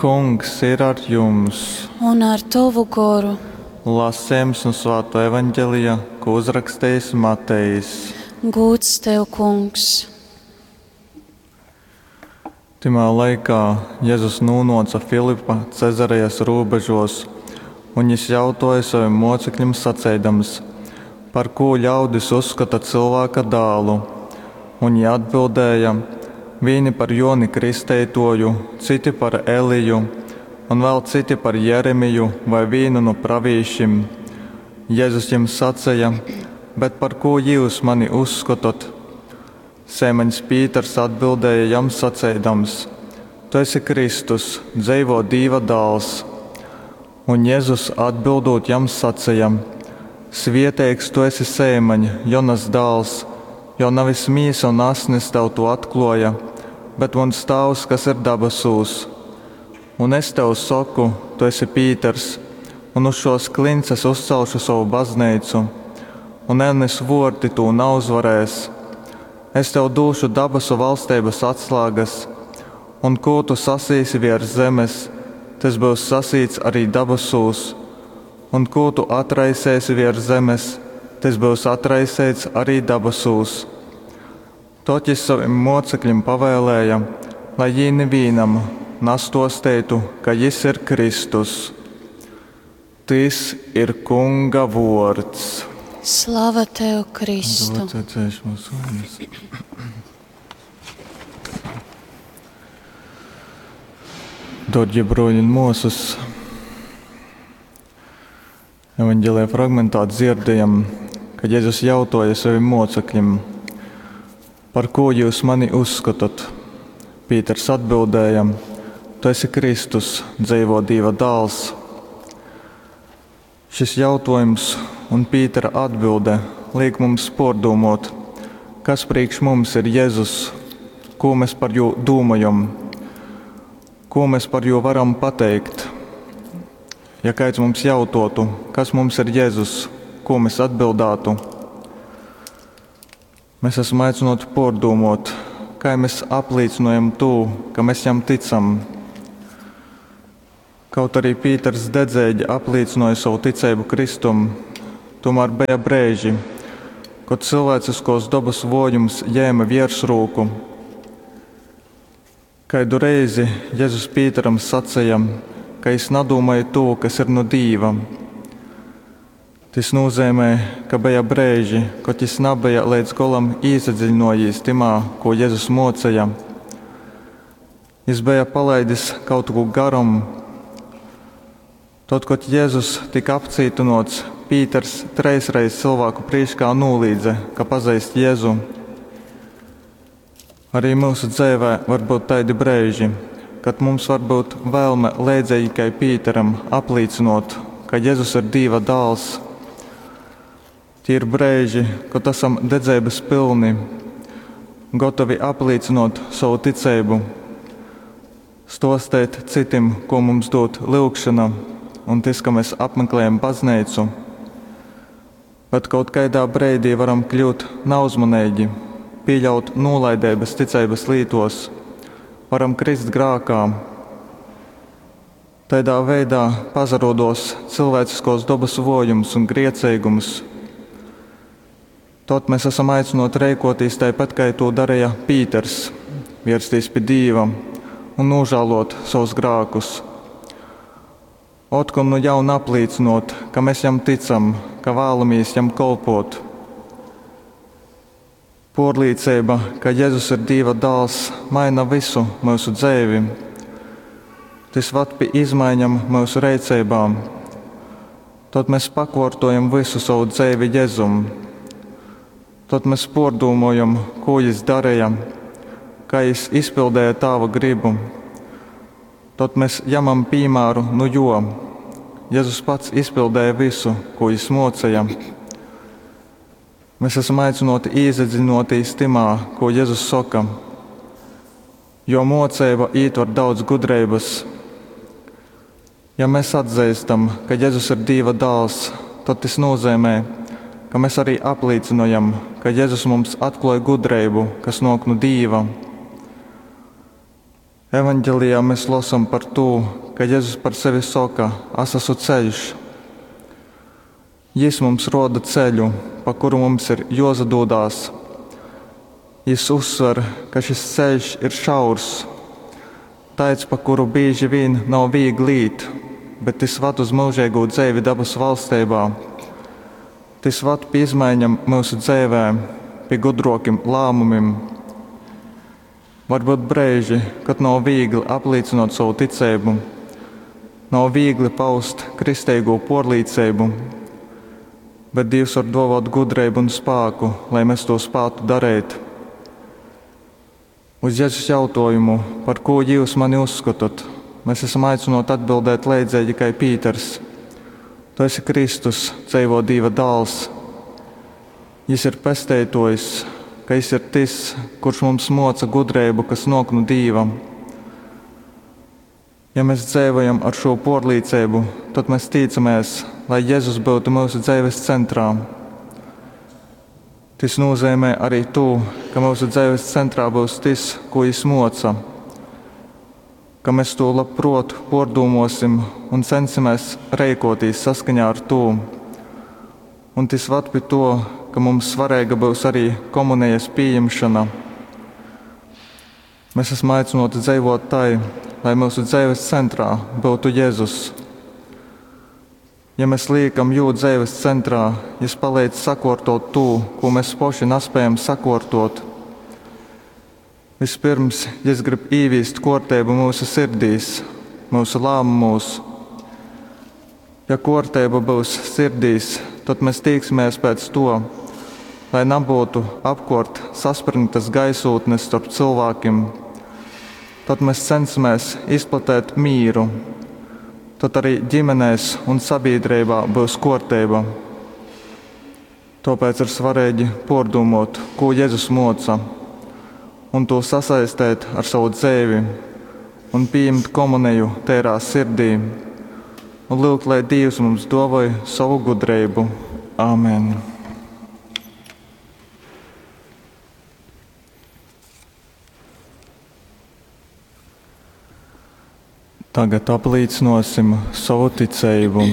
Kungs ir ar jums! Un ar tovu goru. Lasejums nu Svātō Evangelija, kū uzrakstejis Matejs. Gūds tev, Kungs! Tymā laikā Jezus nūnōce Filipa Cezarejas rūbežōs, un jys jautōja sovim mōceklim saceidams, Par kū ļaudis uzskota Cylvāka Dālu? Un jī atbildēja, Vīni par Jōni Kristeitōju, citi par Eliju, un vēl citi par Jeremiju vai vīnu nu pravīšim. Jezus jim saceja, Bet par kū jyus mani uzskotot? Seimaņs Pīters atbildēja jam saceidams, Tu esi Kristus, dzeivō Dīva Dāls. Un Jezus atbildūt jam saceja, Svieteigs tu esi, Seimaņ, Jonas dāls, jo navis mīsa un asnis tev tū atklōja, bet muns Tāvs, kas ir dabasūs. Un es tev soku, tu esi Pīters, un uz šōs kliņts es uzcelšu sovu bazneicu, un elnes vōrti tū nauzvarēs. Es tev dūšu dabasu valsteibas atslāgas, un kū tu sasīsi viers zemes, tys byus sasīts arī dabasūs, un kū tu atraiseisi viers zemes, tys byus atraiseits arī dabasūs. Tod jys sovim mōceklim pavēlēja, lai jī nivīnam nastōsteitu, ka jys ir Kristus. Tys ir Kunga vōrds. Slava tev, Kristu! Dārgie broļi un māsas, Evanģēlijā fragmentā dzirdējam, kad Jēzus jautāja saviem mocekļiem, par ko jūs mani uzskatat? Pīters atbildēja, tu esi Kristus, dzeivo Dieva dēls. Šis jautājums un Pītera atbilde liek mums pārdomot, kas priekš mums ir Jēzus, ko mēs par jū domājam, ko mēs par jū varam pateikt. Ja kāds mums jautātu, kas mums ir Jēzus, ko mēs atbildētu? Mēs esam aicināti pārdomot, kā mēs apliecinājam to, ka mēs jam ticam. Kaut arī Pīters dedzīgi apliecināja savu ticību Kristum, tomēr bija brīži, kad cilvēciskos dabas vojums jēma virsrūku. Kaidu reizi Jēzus Pīteram sacīja, ka es nadomāju to, kas ir no Dīva. Tas nozīmē, ka bija brīži, kad jis nebija līdz golam iesadziļinājies timā, ko Jēzus mocīja. Jis bija palaidis kaut ko garam. Tad, kad Jēzus tika apcietināts, Pīters treisreiz cilvēku priekšā nolīdze, ka pazīst Jēzu. Arī mūsu dzīvē var būt tādi brīži, kad mums var būt vēlme līdzīgi kā Pīteram apliecinot, ka Jēzus ir Dieva dēls. Tie ir brīži, kad esam dedzības pilni, gatavi apliecinot savu ticību, stostēt citiem, ko mums dod lūgšana un tas, ka mēs apmeklējam baznīcu. Bet kaut kādā brīdī varam kļūt neuzmanīgi, pieļaut nolaidības ticības lītos, varam krist grākā. Tādā veidā pazarodos cilvēciskos dabas vojums un griecīgums. Tad mēs esam aicināti rēkoties tāpat, kā to darīja Pīters, vērsties pie Dieva un nožēlot savus grākus. Otkon nu jauna apliecinot, ka mēs jam ticam, ka vēlamies jam kalpot. Porlīcība, ka Jēzus ir Dieva dēls, maina visu mūsu dzīvi. Tas vad pie izmaiņām mūsu rīcībām. Tad mēs pakārtojam visu savu dzīvi Jēzum. Tad mēs pārdomājam, ko Jis darīja, kā Jis izpildīja Tāva gribu. Tad mēs ņemam piemēru nu jo. Jēzus pats izpildīja visu, ko Jis mocīja. Mēs esam aicināti iedziļināties timā, ko Jēzus saka, jo mocība ietver daudz gudrības. Ja mēs atzīstam, ka Jēzus ir Dieva dēls, tad tas nozīmē, ka mēs arī apliecinājam, ka Jēzus mums atklāja gudrību, kas nāk no Dieva. Evaņgelijā mēs losam par tū, ka Jezus par sevi soka: As esmu ceļš. Jis mums roda ceļu, pa kuru mums ir jozadūdās. Jis uzsver, ka šis ceļš ir šaurs, taids, pa kuru bīži vīn nav viegli īt, bet tys vad uz mūžīgo dzeivi dabas valstībā. Tys vad pie izmaiņām mūsu dzīvē, pie gudrokiem lēmumiem. Varbūt brīži, kad nav viegli apliecinot savu ticību, nav viegli paust kristīgo porlīcību, bet Dievs var dovot gudrību un spēku, lai mēs to spētu darīt. Uz Jēzus jautājumu, par ko jūs mani uzskatat, mēs esam aicināti atbildēt leidzīgi kā Pīters. Tu esi Kristus, dzīvo Dieva dēls. Jis ir pesteitojs, ka jis ir tas, kurš mums moca gudrību, kas nok no Dieva. Ja mēs dzīvojam ar šo porlīcību, tad mēs ticamies, lai Jēzus būtu mūsu dzīves centrā. Tas nozīmē arī to, ka mūsu dzīves centrā būs tas, ko Jis moca, ka mēs to labprot pārdomāsim un censimies rīkoties saskaņā ar to. Un tas vad pie to, ka mums svarīga būs arī komunijas pieņemšana. Mēs esam aicināti dzīvot tai, lai mūsu dzīves centrā būtu Jēzus. Ja mēs liekam jū dzīves centrā, Jis palīdz sakortot to, ko mēs paši nespējam sakortot. Vispirms, Jis grib īvīst kortību mūsu sirdīs, mūsu lēmumos. Ja kortība būs sirdīs, tad mēs tīksimies pēc to, lai nebūtu apkort saspringtas gaisotnes starp cilvēkiem. Tad mēs cenšamies izplatēt mīru. Tad arī ģimenēs un sabiedrībā būs kārtība. Tāpēc ir svarīgi pārdomāt, ko Jēzus moca, un to sasaistīt ar savu dzīvi, un pieņemt komuniju tērā sirdī, un lūgt, lai Dievs mums dāvāj savu gudrību. Āmen! Tagad apliecināsim savu ticību.